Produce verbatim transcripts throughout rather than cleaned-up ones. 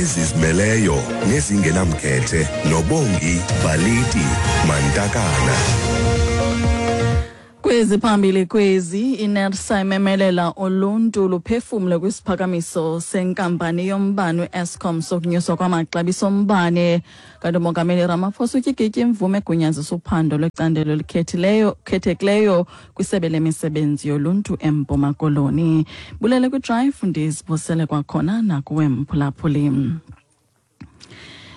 Ezizimeleyo nezingenamkhethe noBongi Baliti Mantakana. Kwezi phambili kwezi, iNERSA imemelela uluntu luphefumle kwisiphakamiso senkampani yombane u-Eskom sokunyuswa kwamaxabiso ombane. Kanti uMongameli Ramaphosa utyikitye imvume egunyazisa uphando lwecandelo elikhethileyo khethekileyo kwisebe lemisebenzi yoluntu eMpuma Koloni. Bulele kwiDrive, ndizibusele kwakhona nakuwe mphulaphuli.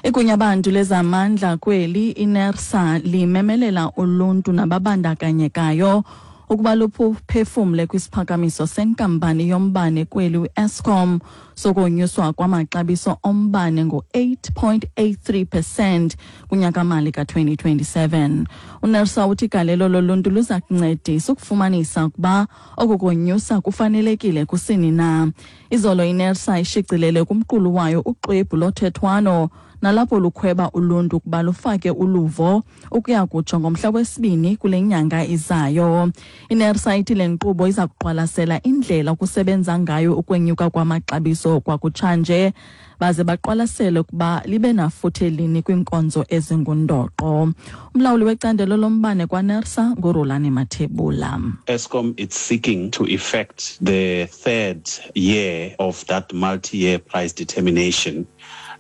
Igunyabantu lezamandla kweli iNERSA limemelela uluntu nababandakanyekayo ukuba luphefumle kwisiphakamiso senkampani yombane kweli u-Eskom sokonyuswa kwamaxabiso ombane ngo-eight point eight three percent kunyakamali ka-twenty twenty-seven. UNERSA uthi igalelo loluntu luza kuncedisa ukufumanisa ukuba oku konyusa kufanelekile kusini na. Izolo iNERSA ishicilele kumqulu wayo uxwebhu lothethwano nalapho lukhweba uluntu ukuba lufake uluvo ukuya kutsho ngomhla wesibini kule nyanga izayo. INERSA ithi le nkqubo iza kuqwalasela indlela okusebenza ngayo ukwenyuka kwamaxabiso kwakutshanje, baze baqwalasele ukuba libe nafuthe lini kwiinkonzo ezingundoqo. Umlawuli wecandelo lombane kwaNERSA nguRulani Mathebula. Eskom is seeking to effect the third year of that multi-year price determination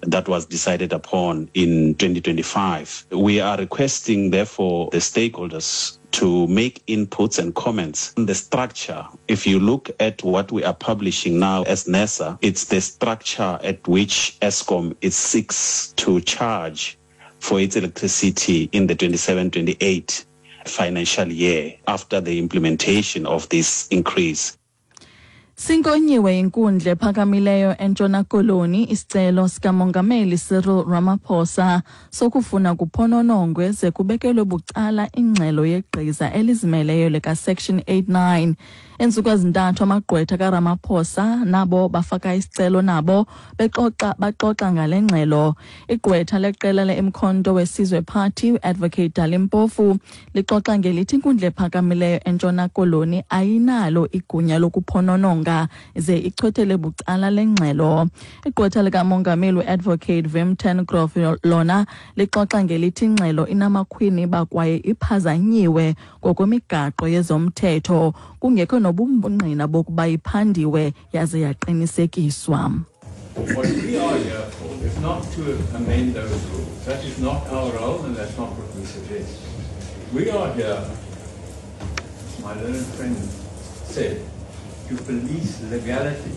that was decided upon in twenty twenty-five. We are requesting, therefore, the stakeholders to make inputs and comments on the structure. If you look at what we are publishing now as NERSA, it's the structure at which Eskom is seeks to charge for its electricity in the twenty-seven twenty-eight financial year after the implementation of this increase. Sinkonyiwe inkundla ephakamileyo eNtshona Koloni isicelo sikaMongameli Cyril Ramaphosa sokufuna kuphononongwe ze kubekelwe bucala ingxelo yegqiza elizimeleyo lika-Section eighty-nine. Iintsuku ezintathu amagqwetha kaRamaphosa nabo bafaka isicelo nabo bexoxa baxoxa ngale ngxelo. Igqwetha leqela le-Umkhonto weSizwe Party uAdvocate Dali Mpofu lixoxa ngelithi inkundla ephakamileyo eNtshona Koloni ayinalo igunya lokuphonononga ze ichwethele bucala le ngxelo. Igqwetha likaMongameli uAdvocate Wim ten Grove lona lixoxa ngelithi ingxelo inamakhwiniba kwaye iphazanyiwe ngokwemigaqo yezomthetho, kungekho nobungqina bokuba iphandiwe yaze yaqinisekiswa. What we are here for is not to amend those rules. That is not our role and that's not what we suggest. We are here, as my learned friend said, to police legality.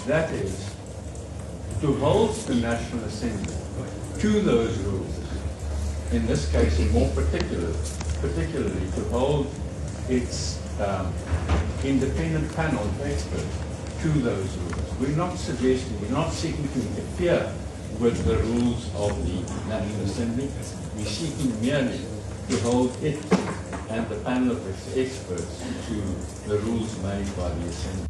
That is, to hold the National Assembly to those rules. In this case, and more particular, particularly to hold its um, independent panel of experts to those rules. We're not suggesting, we're not seeking to interfere with the rules of the National Assembly. We're seeking merely to hold it and the panel of experts to the rules made by the Assembly.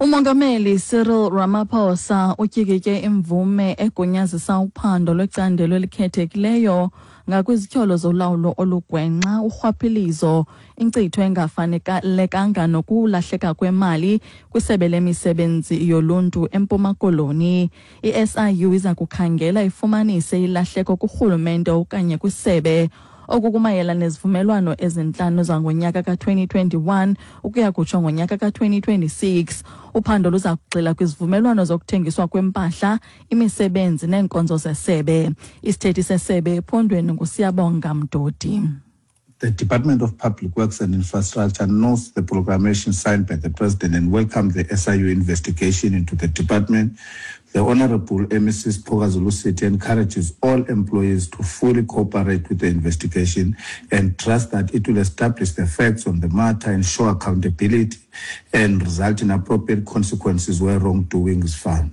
Umongameli Cyril Ramaphosa utyikitye imvume egunyazisa uphando lwecandelo elikhethekileyo ngakwizityholo zolawulo olugwenxa, urhwaphilizo, inkcitho engafanelekanga nokulahleka kwemali kwisebe lemisebenzi yoluntu eMpuma Koloni. I-S I U iza kukhangela ifumanise ilahleko kurhulumente okanye kwisebe. Oku kumayela nezivumelwano ezintlanu zangonyaka ka-twenty twenty-one ukuya kutsho ngonyaka ka-twenty twenty-six. Uphando luza kugxila kwizivumelwano zokuthengiswa kwempahla, imisebenzi neenkonzo zesebe. Isithethi sesebe ephondweni nguSiyabonga Mdodi. The Department of Public Works and Infrastructure notes the proclamation signed by the President and welcomed the S I U investigation into the department. The Honorable Missus Siphokazi Lusithi encourages all employees to fully cooperate with the investigation and trust that it will establish the facts on the matter, ensure accountability, and result in appropriate consequences where wrongdoing is found.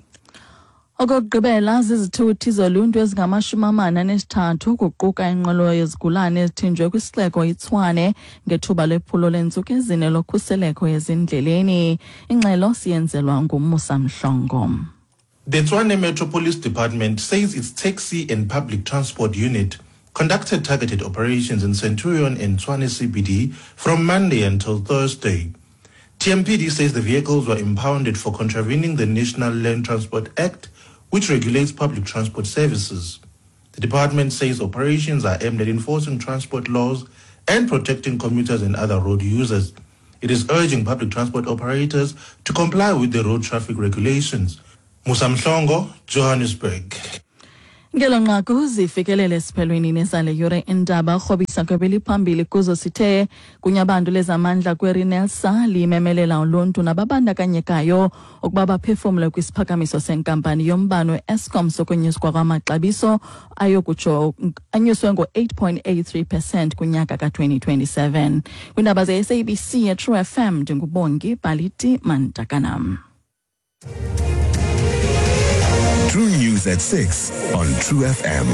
Okokugqibela, zizithuthi zoluntu ezingamashumi amane anesithathu kuquka inqwelo yezigulane ezithinjwe kwisixeko iTshwane ngethuba lephulo leentsuku ezine lokhuseleko ezindleleni. Ingxelo siyenzelwa nguMusa Mhlongo. The Tshwane Metro Police Department says its taxi and public transport unit conducted targeted operations in Centurion and Tshwane C B D from Monday until Thursday. T M P D says the vehicles were impounded for contravening the National Land Transport Act which regulates public transport services. The department says operations are aimed at enforcing transport laws and protecting commuters and other road users. It is urging public transport operators to comply with the road traffic regulations. Musa Mhlongo, Johannesburg. Ngelo nqaku zifikelele esiphelweni nezale yure indaba rhobisa kwebeliphambili kuzo sithe kunyabantu lezamandla kweRENERSA limemelela uluntu nababandakanyekayo ukuba baphefumle kwisiphakamiso senkampani yombane Eskom sokunyuswa kwamaxabiso ayokutsho anyuswe ngo-eight point eight three percent kunyaka ka-twenty twenty-seven. Kwiindaba ze-S A B C True F M ndinguBongi Baliti Mantakanam. True News at six on True F M.